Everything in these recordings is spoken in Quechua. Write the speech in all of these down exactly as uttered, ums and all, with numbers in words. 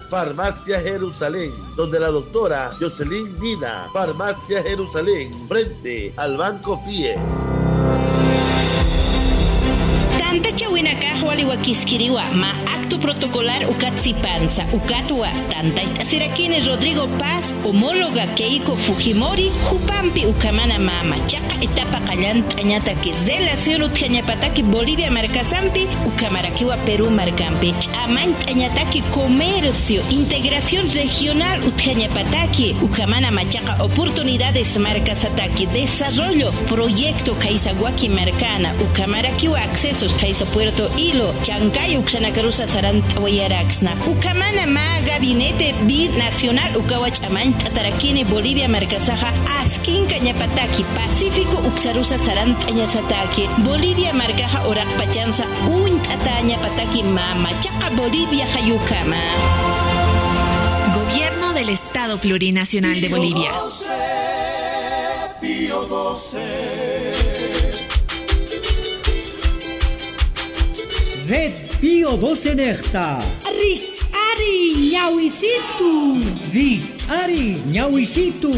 Farmacia Jerusalén, donde la doctora Jocelyn Nina. Farmacia Jerusalén, frente al Banco F I E. Tantacha winakaj waliwakiskiriwa ma acto protocolar ukatsipanza ukatwa tantaytasirakini Rodrigo Paz homóloga Keiko Fujimori Jupampi ukamana mama chaqa etapa qallant'añataki relación utjañapataki Bolivia markasampi ukamarakiwa Perú markampi ch'amant'añataki comercio integración regional utjañapataki ukamana machaqa oportunidades markasataki desarrollo proyecto Kaisaguaki markana ukamarakiwa accesos Kaisa Puerto Ilo, Chancay, Uxanacarusa, Sarantawayaraxna, Ukamana ma Gabinete Binacional, Ukawachamán, Tatarakini, Bolivia, Marcasaja, Asquinca, Ñapataki, Pacífico, Uxarusa, Sarantañasataki, Bolivia, Marcaja, Orakpachanza, Untatañapataki, Mama, Chaca, Bolivia, Jayucama. Gobierno del Estado Plurinacional de Bolivia. Pío doce. Red Pío doce Nechta. Richari ñawisitu. Richari ñawisitu.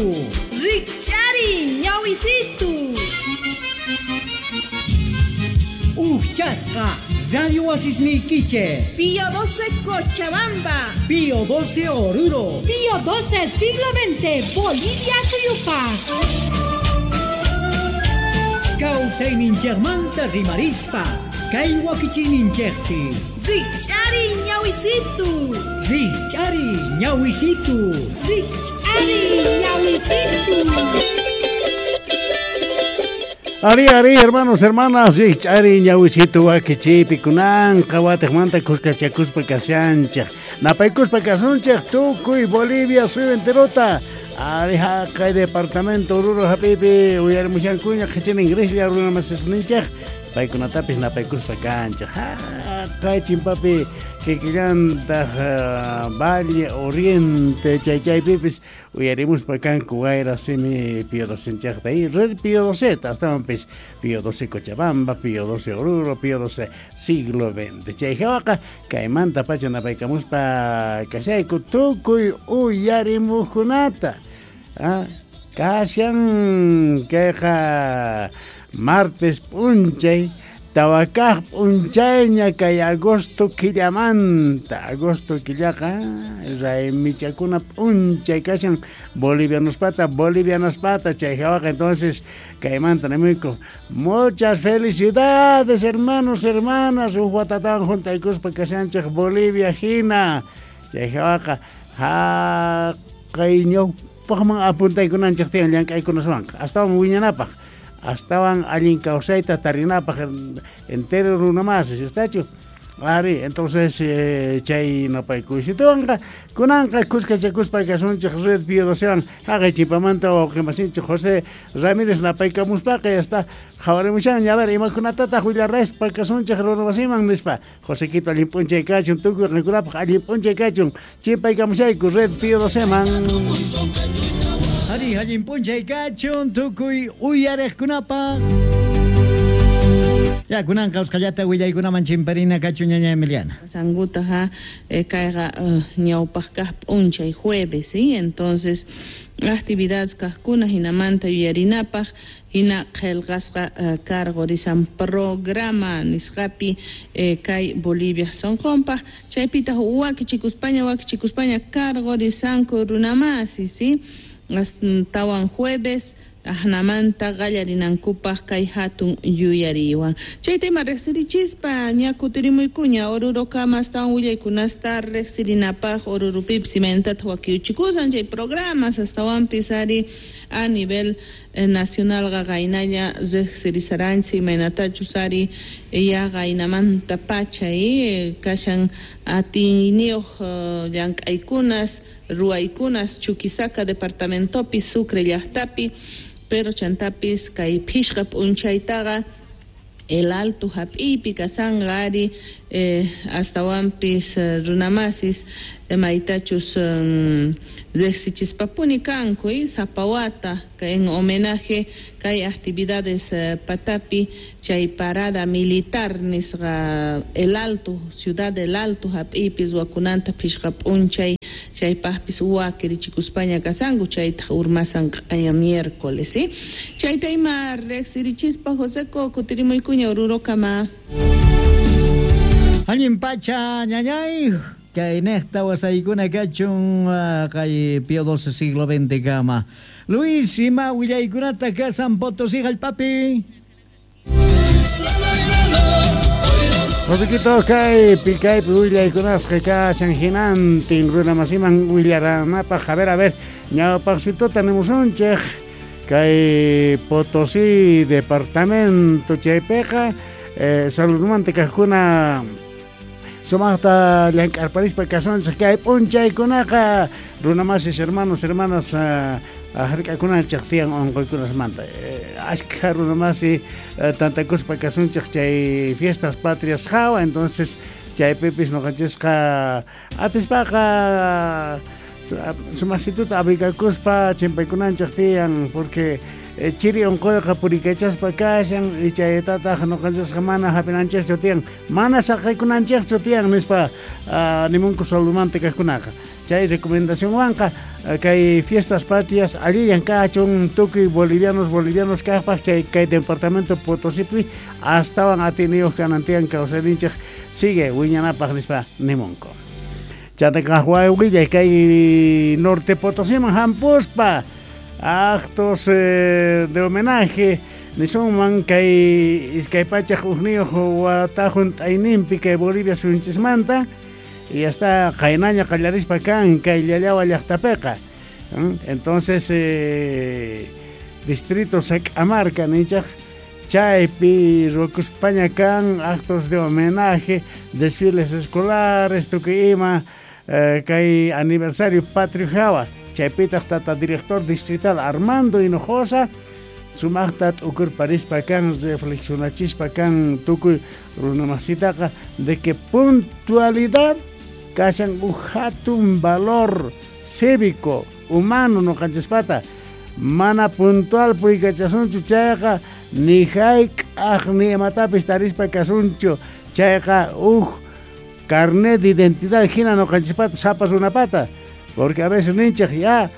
Richari ñawisitu. Uchasqa Radio Wasisniquiche. Pío doce Cochabamba. Pío doce Oruro. Pío doce Siglo veinte Bolivia Suyupa. Kawsayninchikmanta rimarispa. Kay wakichininchikpi. Richari ñawisitu. Richari ñawisitu. Richari ñawisitu. Ari, ari, hermanos, hermanas, richari ñawisitu wakichipi kunanqa watiqmanta kuskachakuspa kashanchik. Napaykuspa kasunchik tukuy Bolivia suyu enterota. Ari haqay departamento Oruro hapipi uyarimushankuña qhichina ingreslla runa masisninchik. Paykunatapis napaykuspa kanchik. Haqay chimpapi kikillantaq Valle Oriente chaychaypipis uyarimuspa kanku wayra simi Pío doce y Red Pío doce astawanpis Pío doce Cochabamba, Pío doce Oruro, Pío doce Siglo veinte. Chayhawaqa kaymanta pacha napaykamuspa kashayku tukuy uyarimuqkunata. Ah, kashan kayqa martes p'unchay tawakaq p'unchayña kay agosto killamanta agosto killaqa raymichakuna p'unchay kashan bolivianospata bolivianospata chay hawaqa entonces kaymanta nimuyku muchas felicidades hermanos hermanas huk watatawan juntaykuspa kashanchik Bolivia hina chay hawaqa haqay ñawpaqman apuntaykunanchik tiyan llank'aykunaswanqa astawan wiñanapaq astawan allin kawsayta tarinapaq entero runa más, ¿estachu? Ari, entonces eh, chay napaykuysituwanqa kunanqa kuskachakuspa kasunchik Red Pío docewan haqay chimpamanta wawqimasinchik José Ramírez napaykamuspaqa ya está qhawarimushanña a ver imakunatataq willaraspa kasunchik runamasiman nispa Josequito allin p'unchay kachun tukuy qankunapaq allin p'unchay kachun chimpaykamushayku Red Pío doceman. Ari, allin p'unchay kachun tukuy uyariqkunapaq. Ya kunanqa usqhallata willaykunaman chimparina kachun ñaña Emiliana. Sanguta ha kayqa ñawpaq kaq p'unchay jueves, ¿sí? Entonces actividades kaqkuna hinamanta yuyarinapaq hina qillqasqa cargo risan programa nisqapi kay Bolivia sonqonpaq chaypitaq wakichikuspaña wakichikuspaña cargo risanku runamasi, ¿sí? Tawan jueves ajnamanta qallarinankupaq kay hatun yuyariwan chayta ima riqsirichispa ña kutirimuykuña Orurokama astawan willaykunasta riqsirinapaq Orurupipis imaynataq wakiuchikusan chay programas astawanpis ari a nivel nacional qaynalla riqsirisaranchik imaynatachus ari ya qaynamanta pacha kashan atiyniyuq llank'aykunas ruwaykunas Chuquisaca departamentopi Sucre llaqtapi pero chantapis kay phishqa p'unchaytaqa El Alto hap'iypi kasanqa ari eh, astawanpis eh, runamasis eh, maytachus um, riqsichispapuni kanku eh, sapa wata en homenaje kay actividades eh, patapi chay parada militar nisqa El Alto, ciudad del Alto hap'iypi ruwakunanta phishqa p'unchay chaypaqpis wakirichikuspaña kasanku chaytaq urmasan q'aya miércoles, ¿sí? Chayta ima riqsirichispa Joseco kutirimuykuña Orurokama. Allin pacha ñañay kay niqta wasaykuna kachun kay Pío doce siglo veinte kama. Luis, ima willaykunata kasan Potosí hallp'api. Josequito kaypi kaypi willaykunasqa kashan hinantin runamasiman willaranapaq. A ver, a ver, ñawpaqsituta nimusunchik kay Potosí departamento chaypiqa eh, saludmanta kaqkuna sumaqta llank'arparispa kasunchik kay p'unchaykunaqa runamasis hermanos hermanas uh, hark'akunanchik tiyan unquykunasmanta eh, ashkha runamasi eh, tantakuspa kasunchik chay fiestas patrias hawa. Entonces chaypipis ñuqanchisqa atispaqa sumaqsituta abrigakuspa chimpaykunanchik tiyan porque eh, chiri unquyqa purikachaspa kashan y chaytataq ñuqanchisqa mana hap'inanchikchu tiyan mana saqaykunanchikchu tiyan nispa uh, nimunku saludmanta kaqkunaqa chay recomendacionwanqa uh, kay fiestas patrias allillan kachun tukuy bolivianos bolivianos kaqpaq chay kay departamento Potosípi astawan atiniyuq kanan tiyan kawsayninchik sigue wiñanapaq nispa nimunku. Chantaka willay kay Norte Potosíman hampuspa actos eh, de homenaje nisunman kay iskay pachaq hukniyuq watahun t'ayninpi kay Bolivia suyunchismanta y hasta qaynaña qallarispa kan kay Llallawa llaqtapiqa. Entonces eh, distrito Sac'amarca ninchaq chaypi ruwakuspaña kan actos de homenaje, desfiles escolares tukuy ima eh, kay aniversario patrio hawa. Chaypitaq tata director distrital Armando Hinojosa sumaqta t'ukurparispa kan reflexionachispa kan tukuy runamasitaqa de que puntualidad kashan uj hatun valor cívico humano ñuqanchispata mana puntual purikachasunchu chayqa ni hayk'aq ni imatapis tarispa kasunchu chayqa uj carnet de identidad hina ñuqanchispata sapa runapata. Porque a veces ninchik ya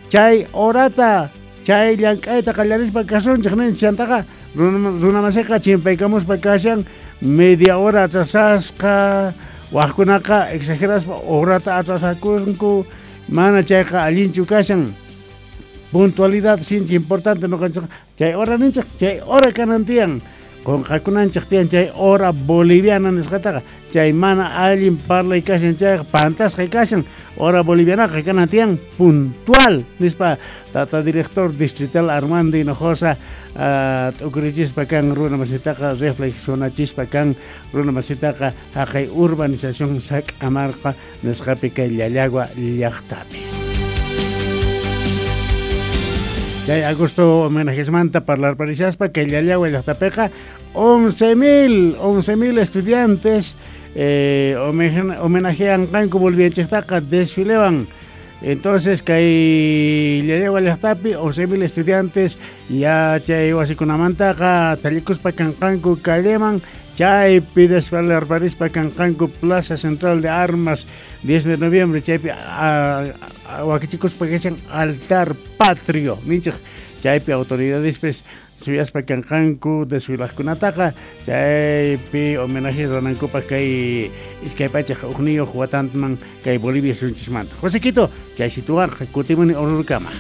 chay horata chay llank'ayta qallarispa kasunchik ninchik chantaqa runamasiqa chimpaykamuspa kashan media hora atrasasqa waqkunaqa exageraspa horata atrasakunku mana chayqa allinchu kashan. Puntualidad sinchi importante ñuqanchik chay hora ninchik chay hora kanan tiyan qunqakunanchik tiyan chay hora boliviana nisqataqa chay mana allin parlay kashan chayqa pantasqa kashan hora bolivianaqa kanan tiyan puntual nispa tata director distrital Armando Hinojosa uh, t'ukurichispa kan runamasitaqa reflexionachispa kan runamasitaqa haqay urbanización Sac'amarca nisqapi kay Llallagua llaqtapi. Chay agosto homenajesmanta parlarparishaspa kay Llallagua llaqtapiqa once mil, once mil estudiantes eh, homenajean kanku bolivianchiktaqa desfilewan. Entonces kay Llallagua llaqtapi once mil estudiantes ya chay wasikunamantaqa tallikuspa kanqanku calleman chaypi desfilarparispa kanqanku Plaza Central de Armas diez de noviembre chaypi wakichikuspa kashan altar patrio ninchik chaypi autoridadespis suyaspa kanqanku desfilaqkunataqa chaypi homenaje ruwanankupaq kay iskay pachaq hukniyuq watanman kay Bolivia suyunchismanta. Josequito, chay situwanqa kutimuni Orurukama.